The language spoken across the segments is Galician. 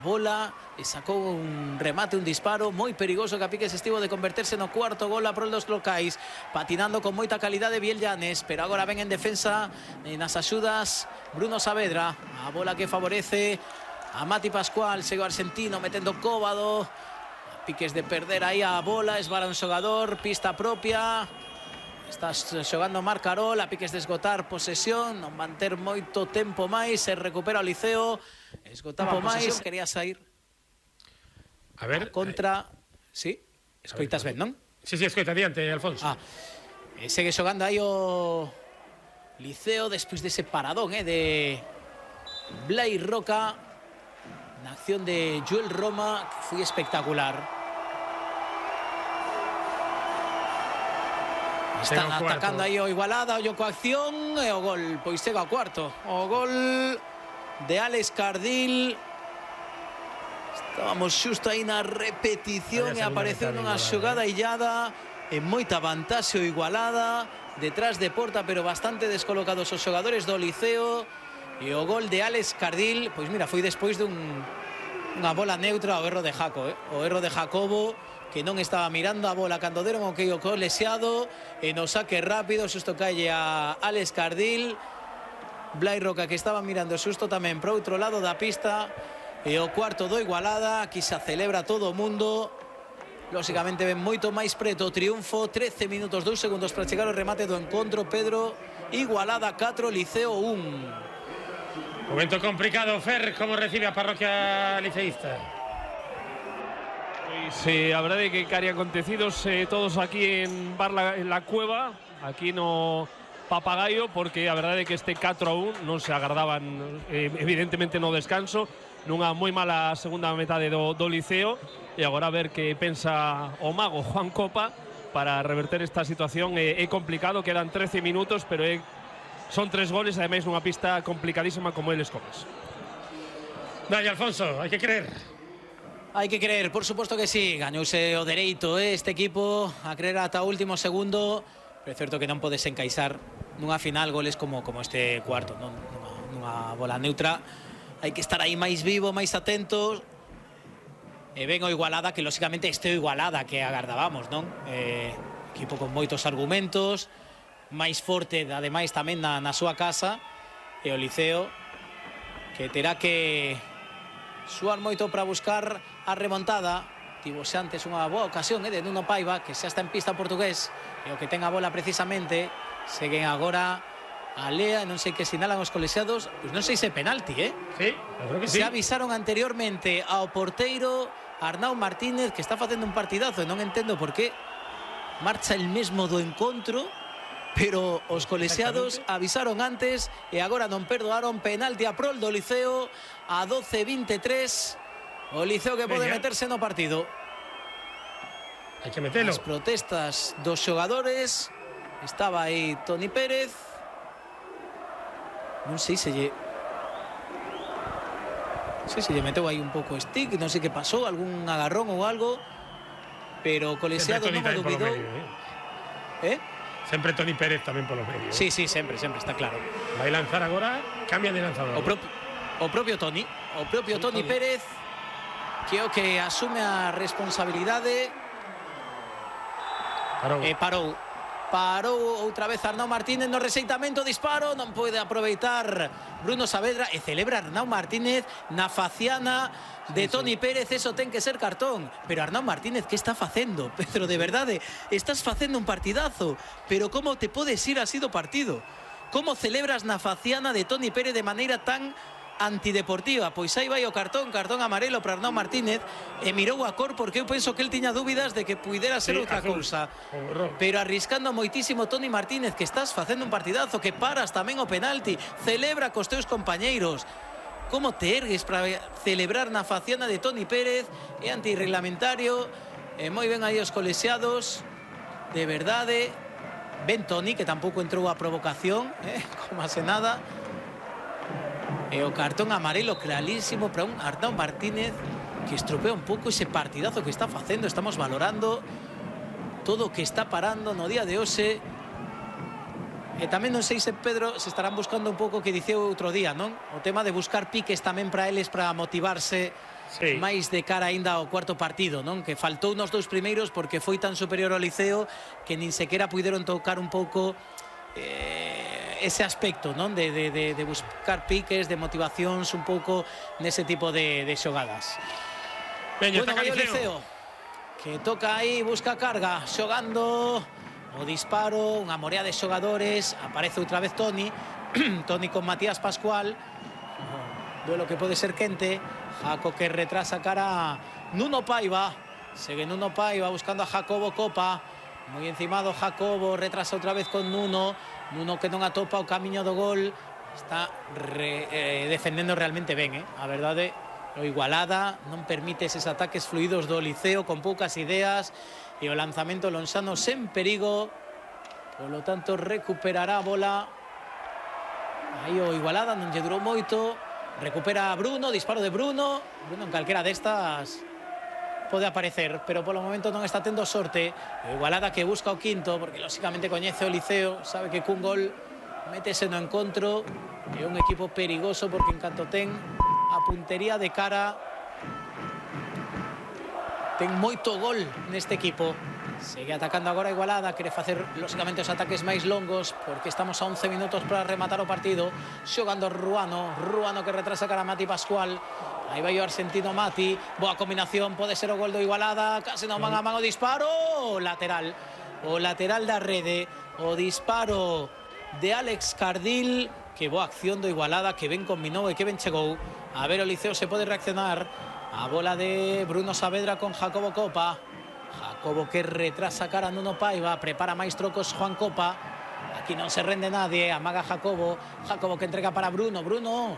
bola e sacou un remate, un disparo moi perigoso que a piques estivo de converterse no cuarto gol a prol dos locais, patinando con moita calidade Biel Llanes, pero agora ven en defensa nas axudas Bruno Saavedra, a bola que favorece a Mati Pascual, segue o argentino metendo cóbado, a piques de perder aí a bola, esbara un xogador, pista propia. Está xogando Marc Carol, a piques de esgotar posesión, non van ter moito tempo máis, se recupera o Liceo, esgotaba máis, quería sair. A ver, contra, sí, escoitas ben, non? Sí, escoita, adiante, Alfonso. Segue xogando aí o Liceo despois dese paradón de Blai Roca, na acción de Joel Roma, que foi espectacular. Están atacando aí o Igualada, o coacción e o gol, pois chega ao cuarto. O gol de Alex Cardil. Estábamos xusto aí na repetición e apareceu nunha xogada illada en moita vantaxe o Igualada, detrás de porta, pero bastante descolocados os xogadores do Liceo. E o gol de Alex Cardil, pois mira, foi despois dunha bola neutra ao erro de Jaco, o erro de Jacobo, que non estaba mirando a bola cando deron o que o leseado, e no saque rápido, xusto calle a Alex Cardil. Blai Roca, que estaba mirando xusto tamén para outro lado da pista, e o cuarto do Igualada. Aquí se celebra todo o mundo. Lóxicamente ven moito máis preto o triunfo. 13 minutos 2 segundos para chegar ao remate do encontro. Pedro, Igualada 4, Liceo 1. Momento complicado, Fer, como recibe a parroquia liceísta? Pois a verdade é que cari acontecidos todos aquí en la Cueva, aquí no Papagaio, porque a verdade é que este 4-1 non se agardaban evidentemente no descanso, nunha moi mala segunda metade do Liceo, e agora a ver que pensa o mago Juan Copa para reverter esta situación. É complicado, quedan 13 minutos, pero son 3 goles, ademais nunha pista complicadísima como eles comes. Dai, Alfonso, hai que creer. Hai que creer, por suposto que sí. Gañouse o dereito este equipo a creer ata o último segundo, pero é certo que non podes encaixar nunha final goles como este cuarto, nunha bola neutra. Hai que estar aí máis vivo, máis atentos. E ven o Igualada, que lóxicamente este o Igualada que agardábamos, non? Equipo con moitos argumentos, máis forte, ademais tamén na súa casa, e o Liceo que terá que suar moito para buscar a remontada. Tivose antes unha boa ocasión de Nuno Paiva, que xa está en pista portugués, e o que ten a bola precisamente. Seguen agora a Lea, non sei que sinalan os colexiados, pois non sei se penalti, Sí, eu creo que sí. Se avisaron anteriormente ao porteiro Arnau Martínez, que está facendo un partidazo, e non entendo por qué marcha el mesmo do encontro, pero os colexiados avisaron antes e agora non perdoaron. Penalti a prol do Liceo a 12-23. O Liceo que pode meterse no partido. Hai que metelo. As protestas dos xogadores. Estaba aí Toni Pérez. Non sei se lle meteu aí un pouco stick, non sei que pasou, algún agarrón ou algo, pero o colexiado non o dubidou. Sempre Toni Pérez tamén polo medio. Sí, sempre, está claro. Vai lanzar agora, cambia de lanzador. O propio Toni Pérez, que é o que asume a responsabilidade. Parou outra vez Arnau Martínez no rexeitamento, disparo, non pode aproveitar Bruno Saavedra, e celebra Arnau Martínez na faciana de Toni Pérez. Eso ten que ser cartón. Pero Arnau Martínez, que está facendo? Pedro, de verdade, estás facendo un partidazo, pero como te podes ir así do partido? Como celebras na faciana de Toni Pérez de maneira tan antideportiva? Pois aí vai o cartón amarelo para Arnau Martínez, e mirou a cor porque eu penso que el tiña dúbidas de que puidera ser outra cousa, pero arriscando moitísimo Toni Martínez, que estás facendo un partidazo, que paras tamén o penalti, celebra cos teus compañeiros. Como te ergues para celebrar na faciana de Toni Pérez? É antirreglamentario. E moi ben aí os colexiados, de verdade. Ben Toni, que tampouco entrou a provocación, como hace nada. E o cartón amarelo clarísimo para un Arnau Martínez, que estropea un pouco ese partidazo que está facendo. Estamos valorando todo o que está parando no día de hoxe. E tamén non sei se, Pedro, se estarán buscando un pouco o que diceu outro día, non? O tema de buscar piques tamén para eles, para motivarse Sí. máis de cara aínda ao cuarto partido, non? Que faltou nos 2 primeiros porque foi tan superior ao Liceo que nin sequera puideron tocar un pouco ese aspecto, non? De buscar piques, de motivacións un pouco nese tipo de xogadas. Veña, Bueno, ataca vai o Liceo. Que toca aí, busca carga, xogando o disparo, unha morea de xogadores, aparece outra vez Toni, Toni con Matías Pascual, duelo que pode ser quente, Jaco que retrasa cara a Nuno Paiva, segue Nuno Paiva buscando a Jacobo Copa, moi encimado Jacobo, retrasa outra vez con Nuno, Nuno que non atopa o camiño do gol, está defendendo realmente ben, a verdade. O Igualada non permite eses ataques fluidos do Liceo con poucas ideas e o lanzamento lonsano sen perigo, polo tanto recuperará a bola aí o Igualada, non lle durou moito, recupera Bruno, disparo de Bruno en calquera destas pode aparecer, pero polo momento non está tendo sorte. O Igualada que busca o quinto porque lógicamente coñece o Liceo, sabe que cun gol métese no encontro, é un equipo perigoso porque en canto ten a puntería de cara ten moito gol neste equipo. Segue atacando agora a Igualada, quere facer lógicamente os ataques máis longos porque estamos a 11 minutos para rematar o partido. Xogando Ruano que retrasa cara a Mati Pascual. Aí vai o argentino Mati, boa combinación, pode ser o gol do Igualada, case non man a man o disparo, o lateral da rede, o disparo de Alex Cardil. Que boa acción do Igualada, que ben combinou e que ben chegou. A ver, o Liceo se pode reaccionar. A bola de Bruno Saavedra con Jacobo Copa. Jacobo que retrasa cara a Nuno Paiva, prepara máis trocos Juan Copa. Aquí non se rende nadie, amaga Jacobo. Jacobo que entrega para Bruno. Bruno,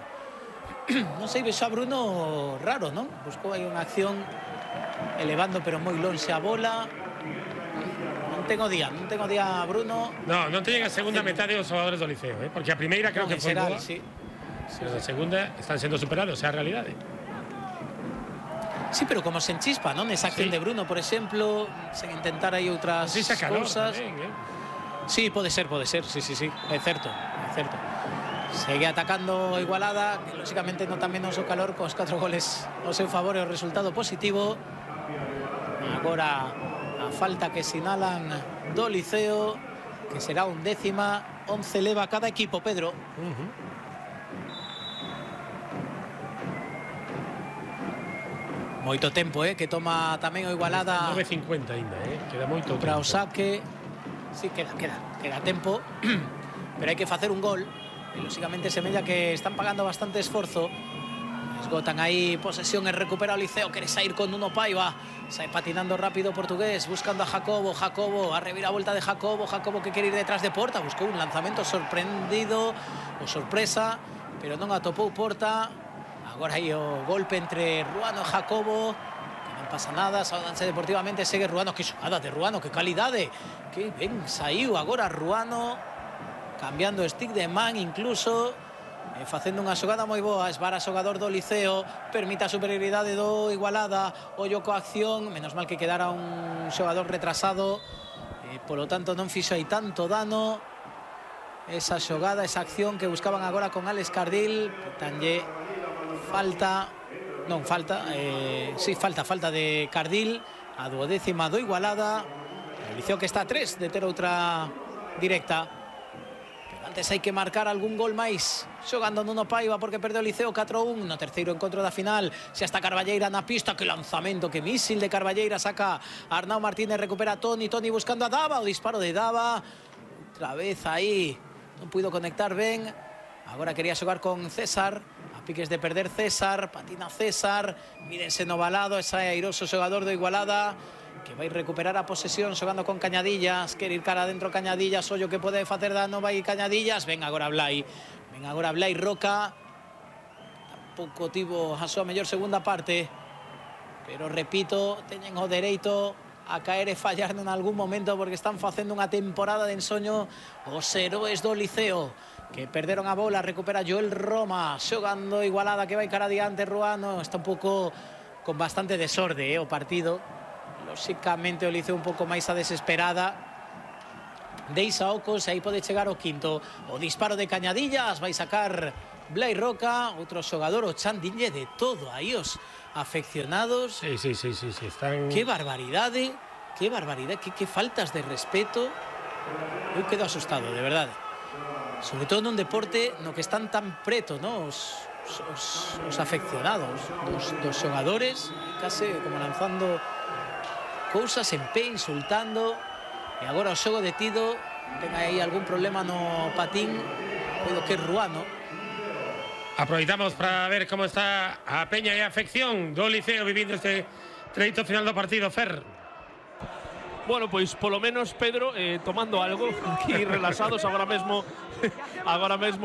non sei, vexo a Bruno raro, non? Buscou aí unha acción elevando pero moi lonxe a bola. Non tengo día Bruno. Non teñen a segunda metade os xogadores do Liceo, porque a primeira creo que foi boa. Sí. Pero a segunda están sendo superados, é a realidade. Sí, pero como se enchispa, non? Esa acción de Bruno, por exemplo, sen intentar aí outras cousas. Sí, pode ser, sí, é certo. Segue atacando Igualada, que lógicamente nota menos o calor cos 4 goles ao seu favor e o resultado positivo. Agora a falta que sinalan do Liceo, que será 11ª, 11 leva cada equipo, Pedro. Moito tempo, que toma tamén o Igualada. 9:50 ainda, queda moito para tempo. o saque. Sí, queda tempo, pero hai que facer un gol. E lógicamente semella que están pagando bastante esforzo. Esgotan aí posesión e recupera o Liceo, quere sair con Nuno Paiva, sai patinando rápido o portugués, buscando a Jacobo, a reviravolta de Jacobo que quere ir detrás de Porta, buscou un lanzamento sorprendido, o sorpresa, pero non atopou Porta. Agora aí o golpe entre Ruano e Jacobo, que non pasa nada, saudanse deportivamente, segue Ruano, que xogada de Ruano, que calidade, que ben saiu agora Ruano, cambiando stick de man incluso, facendo unha xogada moi boa, esvara xogador do Liceo, permite a superioridade do Igualada, ollo coa acción, menos mal que quedara un xogador retrasado, polo tanto non fixo aí tanto dano esa xogada, esa acción que buscaban agora con Alex Cardil. Tanlle falta de Cardil, a 12ª do Igualada. O Liceo que está a 3 de ter outra directa. Antes hai que marcar algún gol máis xogando Nuno Paiva porque perdeu o Liceo 4-1 no terceiro encontro da final. Xa está Carballeira na pista, que lanzamento, que mísil de Carballeira, saca Arnau Martínez, recupera a Toni buscando a Dava, o disparo de Dava outra vez aí, non puido conectar ben. Agora quería xogar con César, a piques de perder César, patina César, mírense no balado, ese airoso xogador do Igualada que vai recuperar a posesión xogando con Cañadillas, quere ir cara adentro Cañadillas, ollo que pode facer dano, vai Cañadillas, ven agora Blai Roca, tampouco tivo a súa mellor segunda parte, pero repito, teñen o dereito a caer e fallar en algún momento porque están facendo unha temporada de ensoño os heróis do Liceo, que perderon a bola. Recupera Joel Roma, xogando Igualada, que vai cara adiante. Ruano está un pouco con bastante desorde o partido. Lógicamente o Liceo un pouco máis a desesperada. Deixa Ocos, aí pode chegar o quinto. O disparo de Cañadillas vai sacar Blai Roca, outro xogador, o Chan Dinlle, de todo aí os afeccionados. Sí, están... Qué barbaridade, que faltas de respeto. Eu quedo asustado, de verdade. Sobre todo nun deporte no que están tan preto, ¿no? os afeccionados dos xogadores, case como lanzando cousas en pé, insultando. E agora o xogo detido, ten aí algún problema no patín, coido que é Ruano. Aproveitamos para ver como está a peña e a afección do Liceo vivindo este treito final do partido, Fer. Bueno, pois polo menos, Pedro, tomando algo aquí relaxados agora mesmo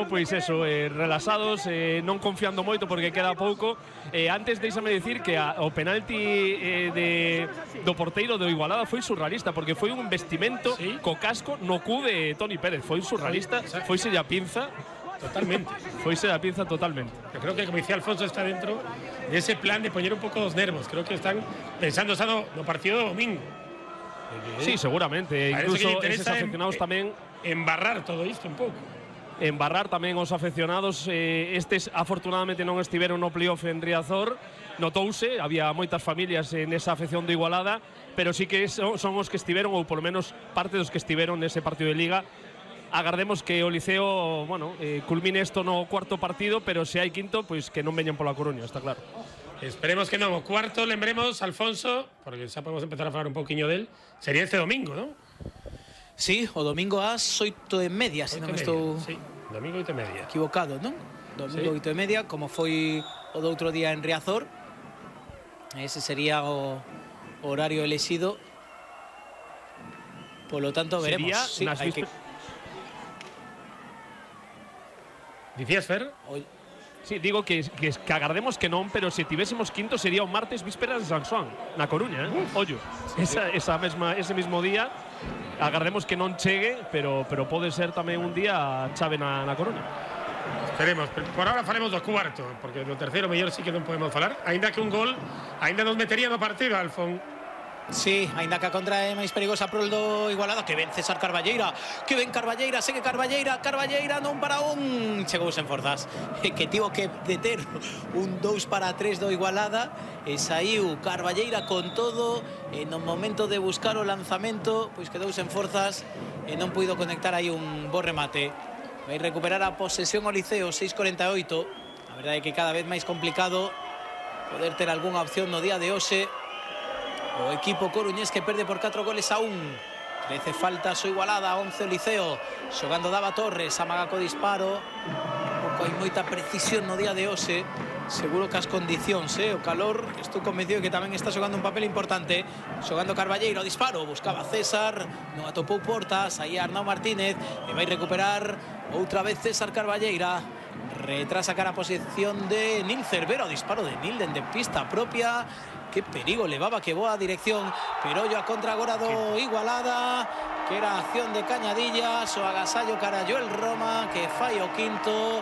pois eso, relaxados, non confiando moito porque queda pouco. Antes deixame dicir que o penalti do porteiro do Igualada foi surrealista, porque foi un investimento co casco no cu de Toni Pérez, foi surrealista, foise a pinza. Totalmente. Foise a pinza totalmente. Yo creo que, como decía Alfonso, está dentro de ese plan de poner un poco los nervios. Creo que están pensando no partido do domingo. Sí, seguramente. Incluso esos afeccionados tamén embarrar todo isto un pouco. Embarrar tamén os afeccionados. Estes afortunadamente non estiveron no playoff en Riazor. Notouse, había moitas familias nesa afección do Igualada, pero sí que son os que estiveron, ou polo menos parte dos que estiveron nese partido de Liga. Agardemos que o Liceo, bueno, culmine isto no cuarto partido, pero se hai quinto, pois que non veñan pola Coruña, está claro. Esperemos que non. O cuarto, lembremos, Alfonso, porque xa podemos empezar a falar un pouquiño del, sería este domingo, non? Sí, o domingo ás 8:30, se non estou... Sí, domingo 8:30. Equivocado, non? Domingo 8:30, como foi o do outro día en Riazor. Ese sería o horario elexido. Por lo tanto, veremos. Sí, hai que... Dicías, Fer? Sí, digo que agardemos que non, pero se tivésemos quinto sería o martes vísperas de San Xoán, na Coruña, Ollo. Ese mismo día, agardemos que non chegue, pero pode ser tamén un día chave na Coruña. Esperemos, por ahora faremos do cuarto, porque do terceiro mellor sí que non podemos falar, aínda que un gol aínda nos metería no partido, Alfón. Sí, aínda que a contra é máis perigosa pro do Igualada. Que ven César Carballeira, que ven Carballeira, segue Carballeira non para un, chegou sen forzas, que tivo que deter un 2-3 do Igualada, e saiu Carballeira con todo, e no momento de buscar o lanzamento, pois quedou sen forzas e non puido conectar aí un bo remate. Vai recuperar a posesión o Liceo, 6:48. A verdade é que cada vez máis complicado poder ter algunha opción no día de hoxe. O equipo coruñés que perde por 4-1. 13 faltas o Igualada, 11 o Liceo. Xogando Dava Torres, amaga co disparo. Pouco hai moita precisión no día de hoxe. Seguro que as condicións, o calor, estou convencido que tamén está xogando un papel importante. Xogando Carballeira, o disparo, buscaba César, non atopou portas, aí Arnau Martínez, e vai recuperar outra vez César Carballeira. Retrasa cara a posición de Nil Cervera, o disparo de Nilden de pista propia. Que perigo levaba, que boa dirección, pero yo a contra agora do Igualada, que era acción de Cañadillas, o agasallo cara Joel Roma, que fai o quinto,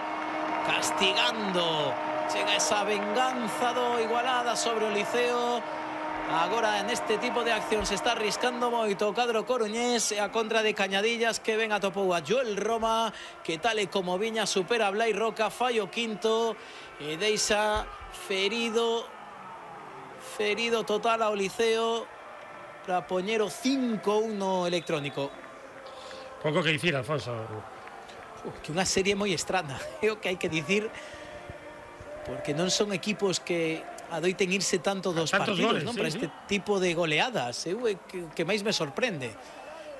castigando. Chega esa venganza do Igualada sobre o Liceo. Agora en este tipo de acción se está arriscando moito o cadro coruñés, e a contra de Cañadillas, que ven atopou a Joel Roma, que tal e como viña supera a Blai Roca, fai o quinto, e deixa ferido total ao Liceo para poñer o 5-1 electrónico. Pouco que dicir, Alfonso. Que unha serie moi estrana, é o que hai que dicir, porque non son equipos que adoiten irse tanto dos partidos, goles, non? Para este tipo de goleadas, é o que máis me sorprende.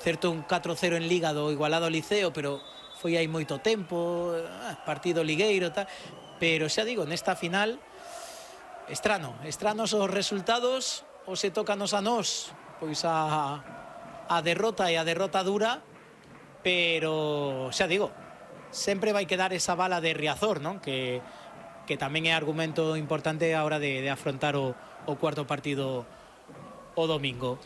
Certo, un 4-0 en Liga do Igualado ao Liceo, pero foi aí moito tempo, partido ligueiro, tal. Pero xa digo, nesta final, estranos os resultados, ou se tócanos a nós, pois a derrota, e a derrota dura, pero xa digo, sempre vai quedar esa bala de Riazor, non? Que tamén é argumento importante a hora de afrontar o cuarto partido o domingo.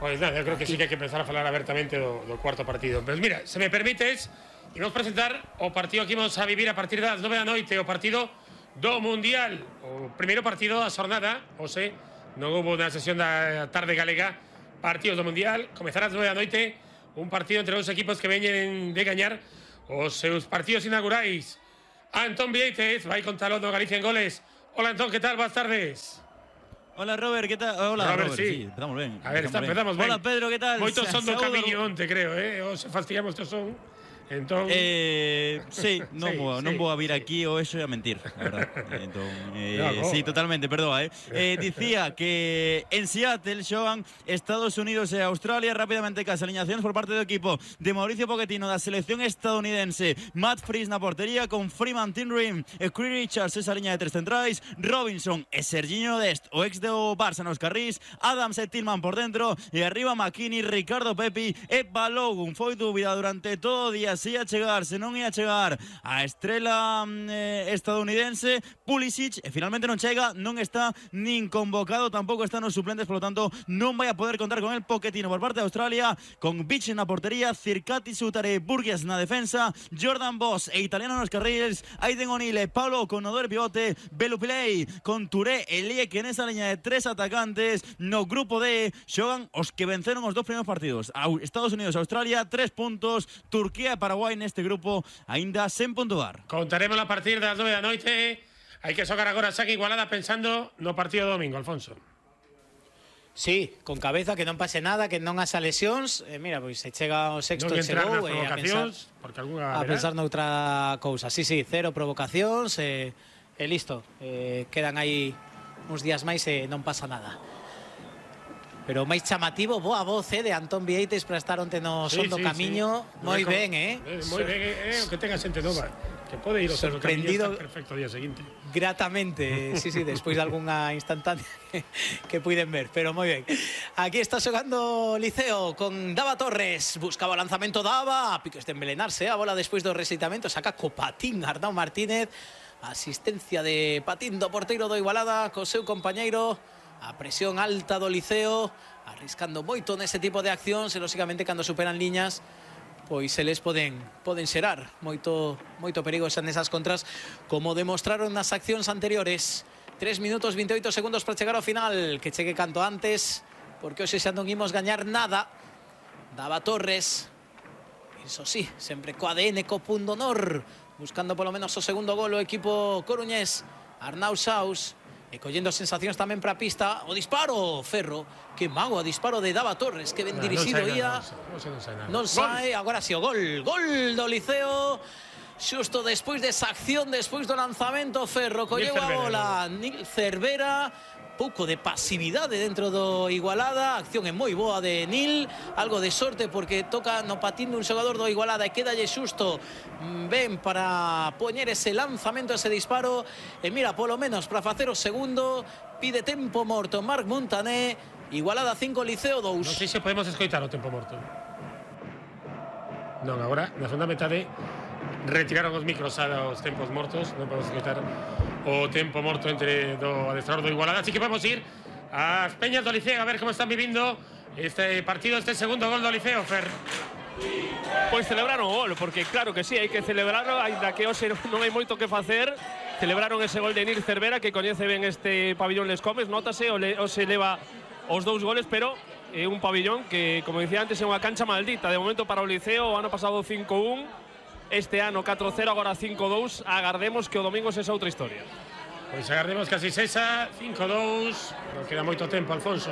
Pois nada, eu creo que sí que hai que empezar a falar abertamente do cuarto partido. Pero mira, se me permites, imos presentar o partido que imos a vivir a partir das 9 da noite, o partido do Mundial, o primeiro partido da xornada. Hoxe non houve na sesión da tarde galega partidos do Mundial. Comezará ás 9 da noite un partido entre os equipos que veñen de gañar os seus partidos inaugurais Antón Vieites, vai con talón do Galicia en goles. Hola, Antón, ¿qué tal? Buenas tardes. Hola, Robert, ¿qué tal? Hola, Robert, sí. Empezamos bien. A ver, empezamos ben. Hola, Pedro, ¿qué tal? Moitos son do camiño onte, creo, O se fastidiamos estos son. Entón… sí, non vou a vir aquí o eso é a mentir, a verdad. Entón, sí, totalmente, perdoa, Dicía que en Seattle xogan Estados Unidos e Australia. Rápidamente cas aliñacións por parte do equipo de Mauricio Pochettino da selección estadounidense. Matt Freese na portería con Freeman Tinrin e Chris Richards esa liña de tres centrais, Robinson e Serginho Dest, o ex do Barça nos carrís, Adams e Tillman por dentro e arriba McKinney, Ricardo Pepi e Balogun. Foi dúbida durante todo o día se ia chegar, se non ia chegar a estrela estadounidense Pulisic, e finalmente non chega, non está nin convocado, tampouco están os suplentes, polo tanto non vai a poder contar con el Pochettino por parte de Australia, con Beach na portería, Circati, Sutare, Burgess na defensa, Jordan Boss e Italiano nos carriles, Aiden O'Neill, Paulo con Odor pivote, Belupilei con Touré e Lieke nesa liña de tres atacantes. No grupo D xogan os que venceron os dos primeiros partidos, Estados Unidos e Australia, 3 puntos, Turquía e Paraguai neste grupo aínda sen puntuar. Contaremos a partir das 9 da noite. Hai que xogar agora saque Igualada pensando no partido do domingo, Alfonso. Sí, con cabeza, que non pase nada, que non haxa lesións. Mira, pois se chega o sexto non e chegou a pensar noutra cousa. Sí, cero provocacións e listo. Quedan aí uns días máis e non pasa nada. Pero máis chamativo, boa voz de Antón Vieites para estar onte no son do camiño. Moi ben, moi ben, que tenga xente nova. Que pode ir ao son do camiño e estar perfecto o día seguinte. Gratamente, sí, despois de algunha instantánea que puiden ver, pero moi ben. Aquí está xogando Liceo con Dava Torres. Buscaba o lanzamento Dava, a piques de envelenarse a bola despois do rexeitamento. Saca co patín Arnau Martínez. Asistencia de patín do porteiro do Igualada co seu compañeiro. A presión alta do Liceo, arriscando moito nese tipo de accións e, lóxicamente, cando superan liñas, pois se les poden xerar moito perigo nesas contras, como demostraron nas accións anteriores. 3 minutos 28 segundos para chegar ao final, que chegue canto antes, porque hoxe xa non imos gañar nada. Dava Torres, iso sí, sempre co ADN, co punto honor, buscando polo menos o segundo gol o equipo coruñés. Arnau Saus, e collendo sensacións tamén para a pista. O disparo, Ferro, que mago, a disparo de Dava Torres, que ben dirixido ia. Non sai, agora si o gol do Liceo. Xusto despois desa acción, despois do lanzamento, Ferro colleu a bola. Nil Cervera, pouco de pasividade dentro do Igualada. A acción é moi boa de Nil, algo de sorte porque toca no patín dun xogador do Igualada e quedalle xusto ben para poñer ese lanzamento, ese disparo. E mira, polo menos para facer o segundo, pide tempo morto Marc Montané. Igualada 5, Liceo 2. Non sei se podemos escoitar o tempo morto. Non, agora, na segunda metade retiraron os micros aos tempos mortos. Non podemos escoitar o tempo morto entre do adestrador do Igualada. Así que vamos ir ás peñas do Liceo a ver como están vivindo este partido, este segundo gol do Liceo, Fer. Pois celebraron o gol, porque claro que sí, hai que celebrarlo, ainda que hoxe non hai moito que facer. Celebraron ese gol de Nil Cervera, que coñece ben este pabillón Les Comes, notase, hoxe leva os dous goles, pero é un pabillón que, como dicía antes, é unha cancha maldita. De momento para o Liceo, o ano pasado 5-1, este ano 4-0, agora 5-2. Agardemos que o domingo sexa outra historia. Pois agardemos que así sexa, 5-2, non queda moito tempo, Alfonso.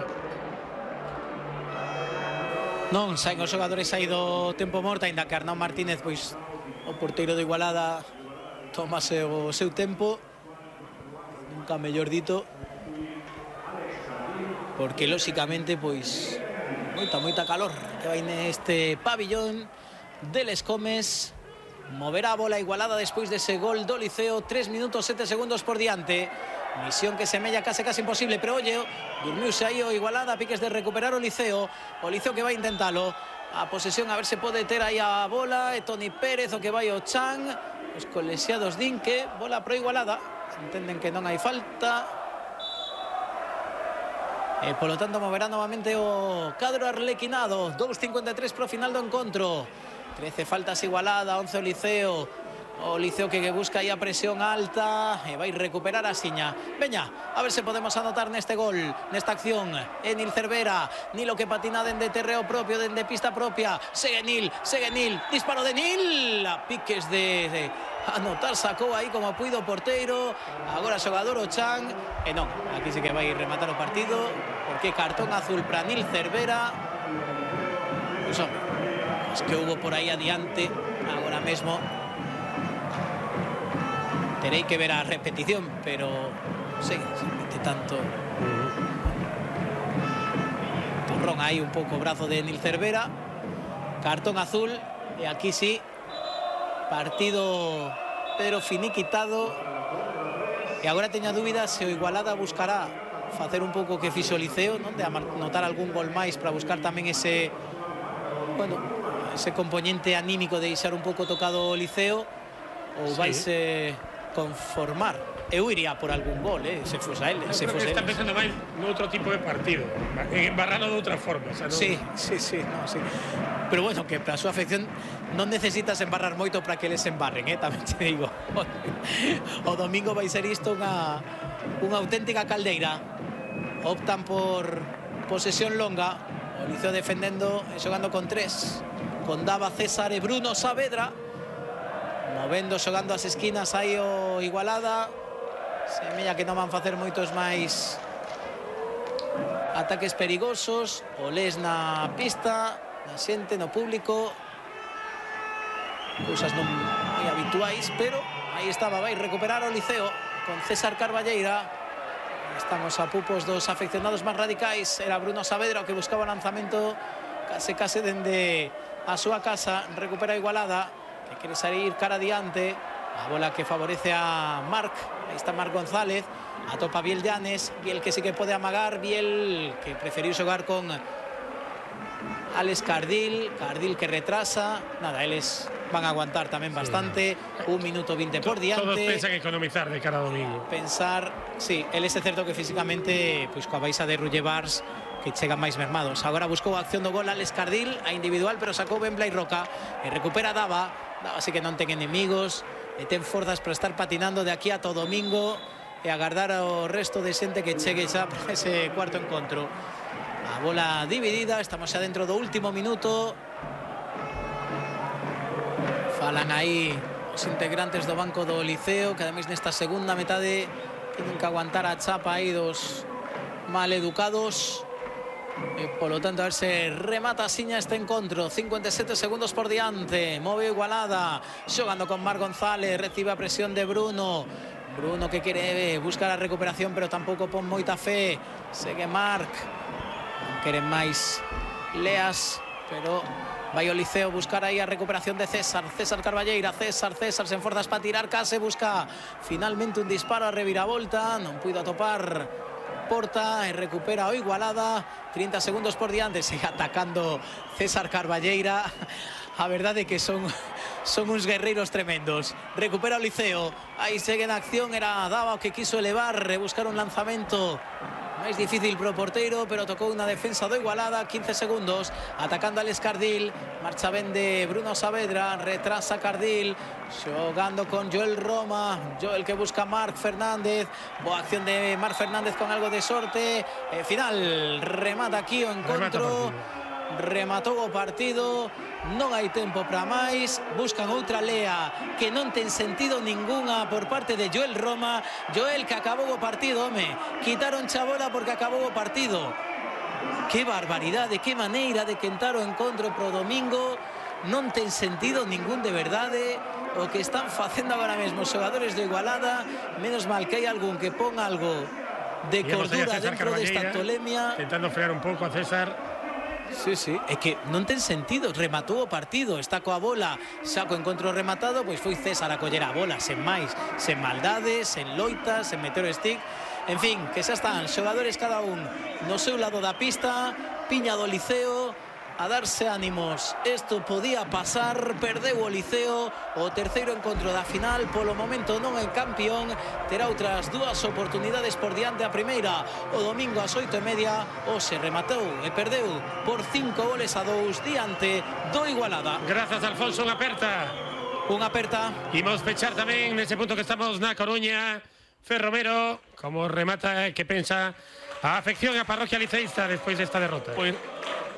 Non, saen os xogadores aí do tempo morto, ainda que Arnau Martínez, pois o porteiro do Igualada, tomase o seu tempo, nunca mellor dito, porque lóxicamente pois moita calor que vai neste pabillón de Les Comes. Moverá a bola Igualada despois dese gol do Liceo. 3 minutos 7 segundos por diante. Misión que semella case imposible, pero oye, durmiuse aí o Igualada, piques de recuperar o Liceo que vai intentalo. A posesión, a ver se pode ter aí a bola, e Toni Pérez, o que vai o Chan. Os colexiados din que bola pro Igualada, entenden que non hai falta, e polo tanto moverá novamente o cadro arlequinado. 2:53 pro final do encontro. 13 faltas Igualada, 11 o Liceo. O Liceo que busca aí a presión alta e vai recuperar a Siña. Veña, a ver se podemos anotar neste gol, nesta acción. Nil Cervera, Nilo que patina dende terreo propio, dende pista propia. Segue Nil, disparo de Nil. A piques de anotar, sacou aí como puido o porteiro. Agora xogador o Chan. E non, aquí sí que vai rematar o partido, porque cartón azul para Nil Cervera. Pois hombre, es que hubo por aí adiante agora mesmo. Tenéis que ver a repetición, pero sí, se mete tanto. Turrón ahí un pouco o brazo de Nil Cervera. Cartón azul. E aquí sí, partido pero finiquitado. E agora teño dúbidas se o Igualada buscará facer un pouco que fixo o Liceo, non? De anotar algún gol máis para buscar tamén ese, bueno, ese componente anímico de deixar un pouco tocado o Liceo, ou sí, vais conformar. Eu iría por algún gol, se fose a él. Se fose está pensando máis noutro tipo de partido, en embarralo de outra forma, o sea, no... Sí. Pero bueno, que para a súa afección non necesitas embarrar moito para que les embarren, tamén te digo. O domingo vai ser isto unha auténtica caldeira. Optan por posesión longa, o Liceo defendendo e xogando con 3, con Dava, César e Bruno Saavedra. Movendo, xogando as esquinas aí o Igualada. Semella que non van facer moitos máis ataques perigosos. O les na pista, na xente, no público. Cousas non moi habituais, pero aí estaba, vai recuperar o Liceo con César Carballeira. Estamos a pupos dos afeccionados máis radicais. Era Bruno Saavedra o que buscaba o lanzamento case dende a súa casa. Recupera Igualada, que quere salir cara adiante. A bola que favorece a Marc. Aí está Marc González. Atopa Biel Llanes. Biel que sí que pode amagar. Biel que preferiu xogar con Alex Cardil. Cardil que retrasa. Nada, eles van a aguantar tamén bastante. 1 minuto 20 por diante. Todos pensan economizar de cara a domingo. Sí, eles é certo que físicamente pois coa baixa de Rullevars que chegan máis mermados. Agora buscou a acción do gol Alex Cardil, a individual, pero sacou ben Blai Roca e recupera Dava. Dava sí que non ten enemigos e ten forzas para estar patinando de aquí a todo domingo e agardar ao resto de xente que chegue xa para ese cuarto encontro. A bola dividida, estamos xa dentro do último minuto. Falan aí os integrantes do banco do Liceo, que ademais nesta segunda metade tienen que aguantar a chapa aí dos maleducados. E polo tanto a ver se remata Siña este encontro. 57 segundos por diante. Move Igualada, xogando con Marc González. Recibe a presión de Bruno. Bruno que quere buscar a recuperación, pero tampouco pon moita fe. Segue Marc. Non queren máis leas, pero vai o Liceo buscar aí a recuperación de César. César Carballeira, César sen forzas para tirar. Case busca finalmente un disparo a reviravolta. Non puido atopar Porta e recupera o Igualada. 30 segundos por diante. Sigue atacando César Carballeira. A verdade é que son uns guerreiros tremendos. Recupera o Liceo. Aí segue en acción. Era Dava o que quiso elevar e buscar un lanzamento máis difícil pro porteiro, pero tocou unha defensa do Igualada. 15 segundos, atacando Alex Cardil. Marcha ben de Bruno Saavedra, retrasa Cardil, xogando con Joel Roma. Joel que busca Marc Fernández. Boa acción de Marc Fernández con algo de sorte. Final, remata aquí o encontro. Rematou o partido. Non hai tempo para máis. Buscan outra lea que non ten sentido ningunha por parte de Joel Roma. Joel que acabou o partido, home. Quitaron chabola porque acabou o partido. Que barbaridade, que maneira de quentar o encontro pro domingo. Non ten sentido ningún de verdade o que están facendo agora mesmo os xogadores de Igualada. Menos mal que hai algún que pon algo de cordura dentro desta tolemia. Intentando frear un pouco a César. Sí, é que non ten sentido. Rematou o partido, está coa bola, xa co encontro rematado, pois foi César a coller a bola, sen máis, sen maldades, sen loitas, sen meter o stick. En fin, que xa están xogadores cada un no seu lado da pista. Piña do Liceo a darse ánimos. Isto podía pasar, perdeu o Liceo o terceiro encontro da final. Polo momento non é campeón, terá outras dúas oportunidades por diante. A primeira o domingo ás 8:30. O se rematou e perdeu por 5-2 diante do Igualada. Grazas, Alfonso, en aperta. unha aperta. Imos pechar tamén nese punto que estamos na Coruña. Fer Romero, como remata, que pensa a afección e a parroquia liceísta despois desta derrota? Pois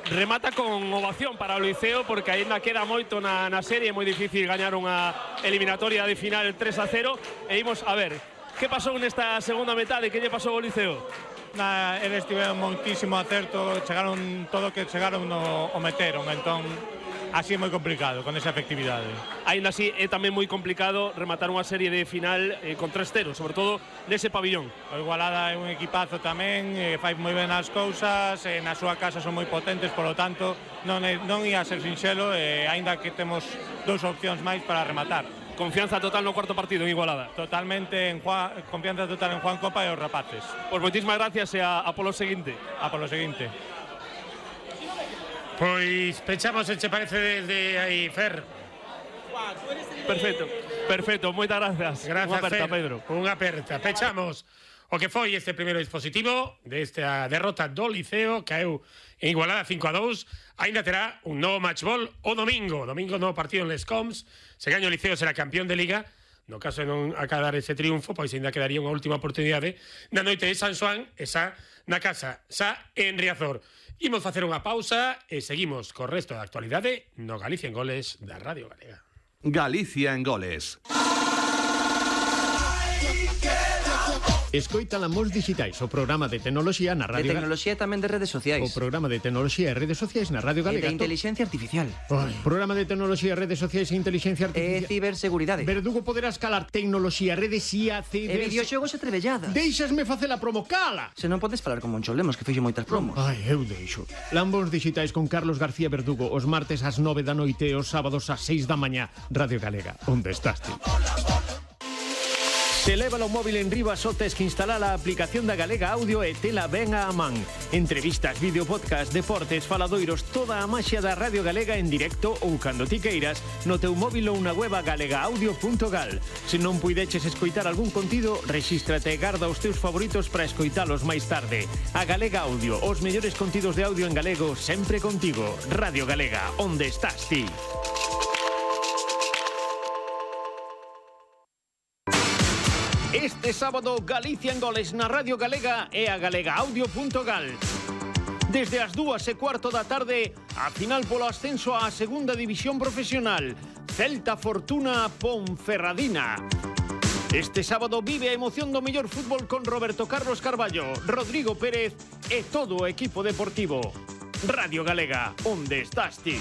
remata con ovación para o Liceo, porque aínda queda moito na serie, é moi difícil gañar unha eliminatoria de final 3-0. E imos a ver, que pasou nesta segunda metade, que lle pasou ao Liceo? Eles tiveron moitísimo acerto, chegaron todo o que chegaron o meteron, entón así é moi complicado con esa efectividade. Aínda así é tamén moi complicado rematar unha serie de final con 3-0, sobre todo nese pabillón. O Igualada é un equipazo tamén, fai moi ben as cousas, na súa casa son moi potentes, polo tanto non ia ser sinxelo, aínda que temos dous opcións máis para rematar. Confianza total no cuarto partido en Igualada. Totalmente, confianza total en Juan Copa e os rapaces. Pois moitísimas gracias e a polo seguinte. A polo seguinte. Pois pechamos, se che parece, desde aí, Fer. Perfecto, moitas gracias. Gracias, unha aperta, Fer. Pedro. Unha aperta. Pechamos o que foi este primeiro dispositivo desta derrota do Liceo, caeu en Igualada 5-2. Aínda terá un novo matchball o domingo. Domingo, novo partido en Les Coms. Se gaña o Liceo, será campeón de Liga. No caso de non acadar ese triunfo, pois ainda quedaría unha última oportunidade na noite de San Xoán, esa na casa, xa en Riazor. Imos facer unha pausa e seguimos co resto da actualidade no Galicia en Goles da Radio Galega. Galicia en Goles. Escoita Lamos Digitais, o programa de tecnoloxía na Radio De tecnoloxía e tamén de redes sociais. O programa de tecnoloxía e redes sociais na Radio E Galega. de inteligencia artificial. Programa de tecnoloxía, redes sociais e inteligencia E artificial. ciberseguridade. Verdugo poderás calar tecnoloxía, redes IA, E videoxogos e trebelladas. Deixasme facer a promo, cala! Se non podes falar con Moncho Lemos, que fixo moitas promos. Ai, eu deixo. Lambos Digitais con Carlos García Verdugo, os martes ás 9 da noite e os sábados ás 6 da mañá. Radio Galega, onde estás ti? Se leva o móvil en riba, só tes que instalar a aplicación da Galega Audio e tela ben a man. Entrevistas, vídeo, podcast, deportes, faladoiros, toda a maxia da Radio Galega en directo ou cando ti queiras no teu móvil ou na web galegaaudio.gal. Se non puideches escoitar algún contido, rexístrate e garda os teus favoritos para escoitalos máis tarde. A Galega Audio, os mellores contidos de audio en galego sempre contigo. Radio Galega, onde estás ti? Este sábado, Galicia en Goles na Radio Galega e a galegaaudio.gal. Desde as 2:15 da tarde, a final polo ascenso á segunda división profesional. Celta Fortuna Ponferradina. Este sábado vive a emoción do mellor fútbol con Roberto Carlos Carballo, Rodrigo Pérez e todo o equipo deportivo. Radio Galega, onde estás ti?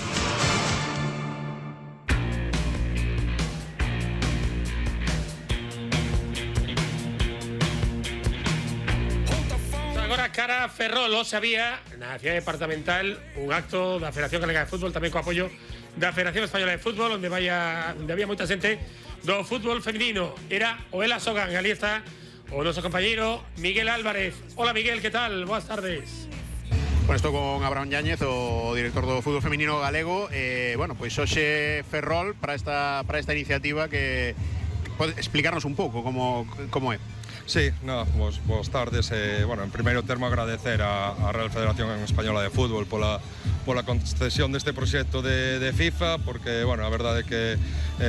Agora cara a Ferrol, se había na cidade departamental un acto da Federación Galega de Fútbol, tamén co apoio da Federación Española de Fútbol, onde había moita xente do fútbol feminino. Era o Ela Sogan, ali está o noso compañeiro Miguel Álvarez. Hola Miguel, que tal? Boas tardes. Bueno, estou con Abraham Yáñez, o director do fútbol feminino galego. Bueno, pois hoxe Ferrol para esta iniciativa que pode explicarnos un pouco como é. Sí, boas tardes. Bueno, en primeiro termo agradecer a Real Federación Española de Fútbol pola concesión deste proxecto de FIFA, porque, bueno, a verdade é que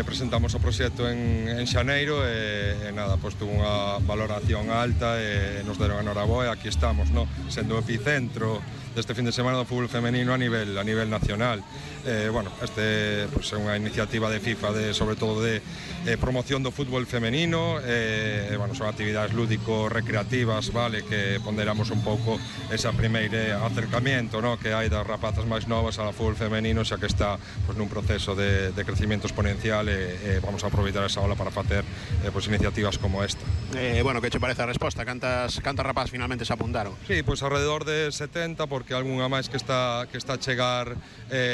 presentamos o proxecto en xaneiro e nada, pois tuvo unha valoración alta e nos deron a noraboa e aquí estamos, no? Sendo o epicentro deste fin de semana do fútbol femenino a nivel nacional. Bueno, este pois, é unha iniciativa de FIFA sobre todo de promoción do fútbol femenino. Bueno, son actividades lúdico-recreativas, vale, que ponderamos un pouco ese primeiro acercamiento, no, que hai das rapazas máis novas ao fútbol femenino, xa que está pois, nun proceso de crecimiento exponencial e vamos a aproveitar esa ola para facer pois, iniciativas como esta. Bueno, que che parece a resposta? Cantas rapazas finalmente se apuntaron? Sí, pois alrededor de 70, porque algunha máis que está a chegar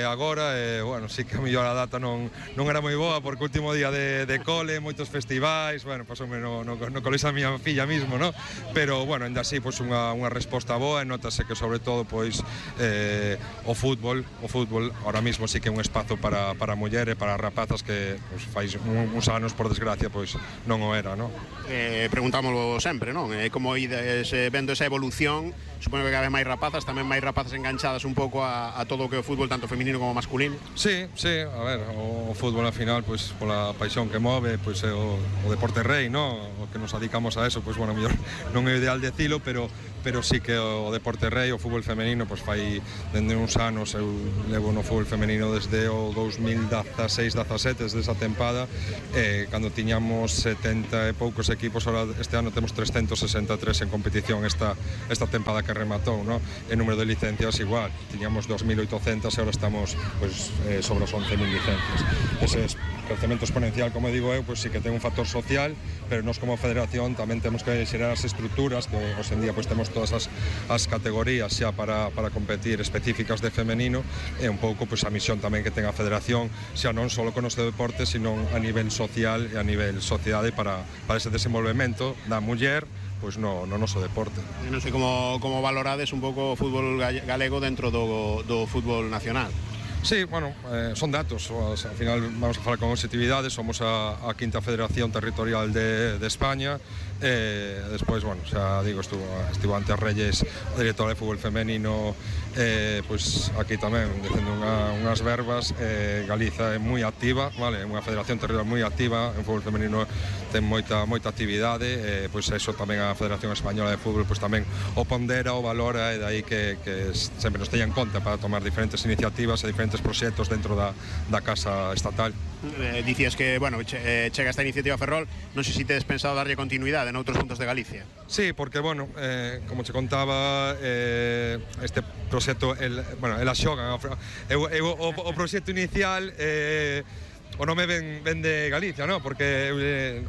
agora. Bueno, sí que a mellor a data non era moi boa, porque o último día de cole, moitos festivais, bueno, pasoume no colexo a miña filla mismo, no? Pero, bueno, ainda así, pois unha resposta boa, e notase que, sobre todo, pois, o fútbol ahora mismo sí que é un espazo para mulleres, para rapazas que pues, fai uns anos, por desgracia, pois non o era, non? Preguntámoslo sempre, non? Como ides vendo esa evolución, supoño que cada vez máis rapazas, tamén máis rapazas enganchadas un pouco a todo o que é o fútbol, tanto feminino como masculino. Sí, a ver, o fútbol al final, pois pola paixón que move, pois é o deporte rei, non? O que nos dedicamos a eso, pois bueno, mellor non é ideal decilo, pero sí que o deporte rei, o fútbol femenino, pois fai dende uns anos, eu levo no fútbol femenino desde o 2016-17, desde esa tempada, cando tiñamos 70 e poucos equipos, ahora este ano temos 363 en competición esta tempada que rematou, ¿no? El número de licencias igual, tiñamos 2.800 e ahora estamos pues, sobre as 11.000 licencias. Ese crecemento exponencial, como digo eu, pues sí que ten un factor social, pero nós como federación tamén temos que xerar as estruturas que hoxe en día pues temos todas as categorías xa para competir específicas de femenino, e un pouco pues a misión tamén que ten a federación, xa non só con este deporte, sino a nivel social e a nivel sociedade para ese desenvolvemento da muller pois no noso deporte. Non sei como valorades un pouco o fútbol galego dentro do fútbol nacional. Sí, bueno, son datos, al final vamos a falar con objetividade, somos a quinta federación territorial de España, despois, bueno, xa digo, estivo ante as Reyes a directora de fútbol femenino, pois aquí tamén dicendo unhas verbas. Galiza é moi activa, vale, é unha federación territorial moi activa, en fútbol femenino ten moita actividade, pois eso tamén a Federación Española de Fútbol pois tamén o pondera, o valora, e dai que sempre nos teña en conta para tomar diferentes iniciativas e diferentes proxectos dentro da casa estatal. Dicías que, bueno, chega esta iniciativa Ferrol, non sei se tedes pensado darlle continuidade en outros puntos de Galicia. Sí, porque, bueno, como che contaba, este proxecto, ela xogan, o proxecto inicial, o nome ven de Galicia, no? Porque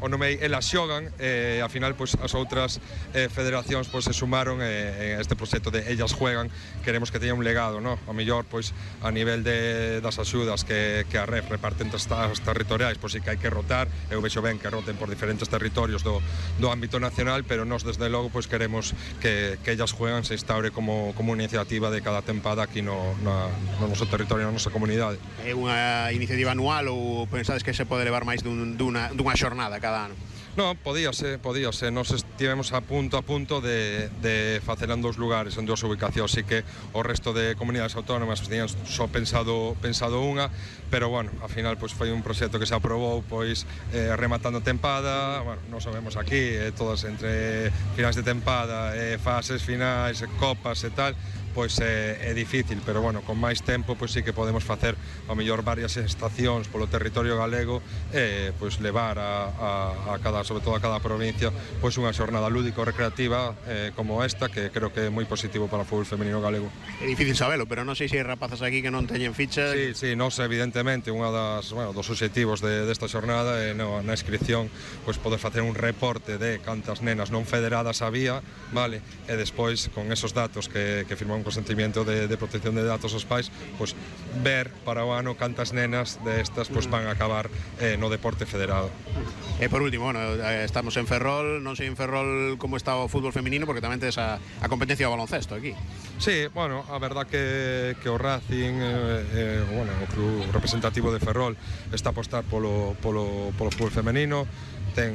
o nome elas xogan, a final pois as outras federacións pois se sumaron a este proxecto de ellas juegan. Queremos que teña un legado, no? A mellor pois a nivel das axudas que a REF reparten as territoriais, pois si que hai que rotar, eu vexo ben que roten por diferentes territorios do ámbito nacional, pero nós desde logo pois queremos que ellas juegan se instaure como iniciativa de cada tempada aquí no noso territorio, na nosa comunidade. É unha iniciativa anual ou pensades que se pode levar máis dunha xornada cada ano? Non, podíase. Nos estivemos a punto de facela en 2 lugares, en 2 ubicacións, así que o resto de comunidades autónomas tenían só pensado unha, pero bueno, ao final pois foi un proxecto que se aprobou pois rematando tempada. Bueno, nos sabemos aquí, todas entre finais de tempada, fases finais, copas e tal, pois é difícil, pero bueno, con máis tempo pois sí que podemos facer ao mellor varias estacións polo territorio galego e pois levar a cada, sobre todo a cada provincia, pois unha xornada lúdico-recreativa como esta, que creo que é moi positivo para o fútbol femenino galego. É difícil sabelo, pero non sei se hai rapazas aquí que non teñen ficha. Sí, nos evidentemente unha dos obxectivos desta xornada é na inscripción pois poder facer un reporte de cantas nenas non federadas había, vale, e despois con esos datos que firmamos un consentimiento de protección de datos aos pais, pois ver para o ano cantas nenas destas pois van a acabar no deporte federado. E por último, bueno, estamos en Ferrol, non sei en Ferrol como está o fútbol feminino, porque tamén tes a competencia do baloncesto aquí. Sí, bueno, a verdad que o Racing, o club representativo de Ferrol, está a apostar polo fútbol femenino. Ten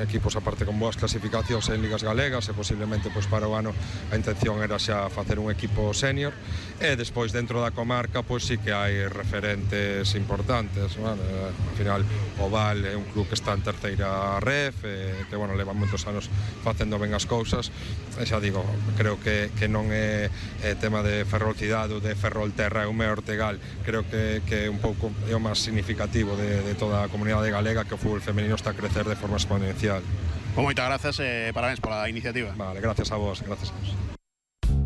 equipos aparte con boas clasificacións en ligas galegas e posiblemente pois para o ano a intención era xa facer un equipo senior, e despois dentro da comarca pois sí que hai referentes importantes, bueno, ao final o Val é un club que está en terceira ref, que bueno, leva moitos anos facendo ben as cousas, e xa digo, creo que non é tema de Ferrol cidade ou de Ferrol terra, é un mellor Ortegal, creo que é un pouco é o máis significativo de toda a comunidade galega, que o fútbol femenino está a crecer de forma exponencial. Moitas grazas e parabéns pola iniciativa. Vale, gracias a vos.